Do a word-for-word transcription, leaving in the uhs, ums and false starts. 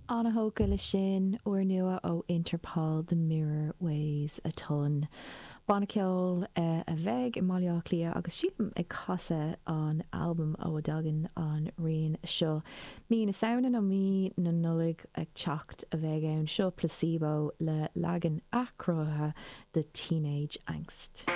An-thógtha leis sin, úrnua ó Interpol, The Mirror Weighs a Ton. Banna ceoil a bheidh i mBaile Átha Cliath agus sílim ag casadh an albam ó a dtagann an rian seo. Mí na Samhna nó mí na Nollag ag teacht a bheidh ann. Seo Placebo le leagan athchruthaithe de Teenage Angst.